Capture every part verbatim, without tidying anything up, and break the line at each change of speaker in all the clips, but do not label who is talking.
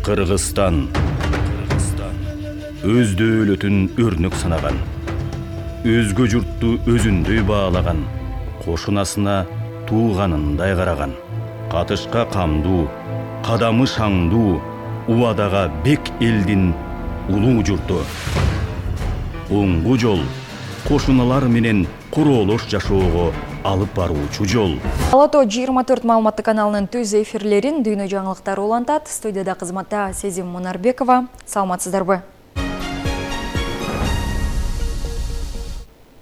Кыргызстан өз дөөлөтүн өрнөк санаган, өзгө журтту өзүндөй баалаган, кошунасына тууганындай караган, катышка камдуу, кадамы шаңдуу, убадага бек элдин улуу журту. Оңгу жол кошуналар менен короолош жашоого алып баруучу жол.
Алато жыйырма төрт маалыматтык каналынын түз эфирлерин дүйнө жаңылыктары улантат. Студияда кызматта Сезим Мунарбекова. Саламатсыздарбы?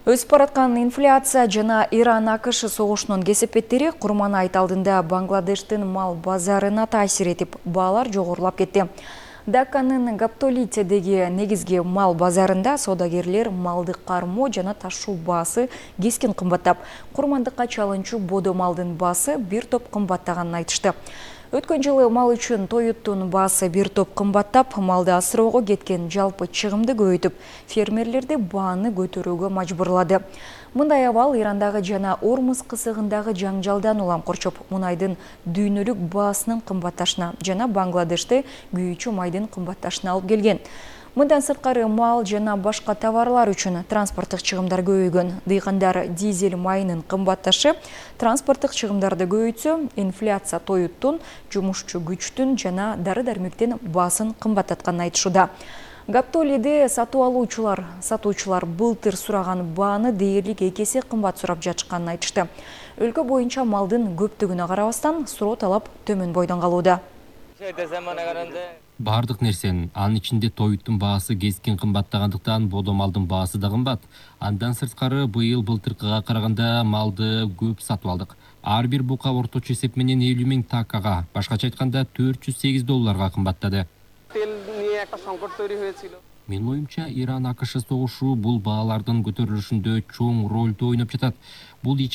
Өсүп бараткан инфляция жана Иран-АКШ согушунун кесепеттери курман айт алдында Бангладештин мал базарына таасир этип, баалар жогорулап кетти. Дакканын Гаптолитедеги негизги мал базарында соодагерлер малды кармоо жана ташуу баасы кескин кымбаттап, курмандыкка чалынчу бодо малдын баасы бир топ кымбаттаганын айтышты. Өткөн жылы мал үчүн тоюттун баасы бир топ кымбаттап, малды асыроого кеткен жалпы чыгымды көбөйтүп, фермерлерди бааны көтөрүүгө мажбурлады. Мындай абал Ирандагы жана Ормуз кысыгындагы жаңжалдан улам корчоп, мунайдын дүйнөлүк баасынын кымбатташына жана Бангладеште күйүүчү майдын кымбатташына алып келген. Мындан сырткары мал жана башка товарлар үчүн транспорттук чыгымдар көбөйгөн. Дыйкандар дизель майынын кымбатташы транспорттук чыгымдарды көбөйтсө, инфляция тоюттун, жумушчу күчтүн жана дары-дармектин баасын кымбаттатканын айтышууда. Гаптолиде сатуу алуучулар, сатуучулар былтыр сураган бааны дээрлик эки эсе кымбат сурап жатышканын айтышты. Өлкө боюнча малдын көптүгүнө карабастан суроо талап төмөн бойдон калууда.
Бардык нерсенин, анын ичинде тоюттун баасы кескин кымбаттагандыктан бодо малдын баасы да кымбат. Андан сырткары быйыл былтыркыга караганда малды көп сатып алдык. Ар бир бука орточо эсеп менен элүү миң такага, башкача айтканда төрт жүз сегиз долларга кымбаттады. Менин оюмча, Иран-АКШ согушу бул баалардын көтөрүлүшүндө чоң ролду ойноп жатат. Бул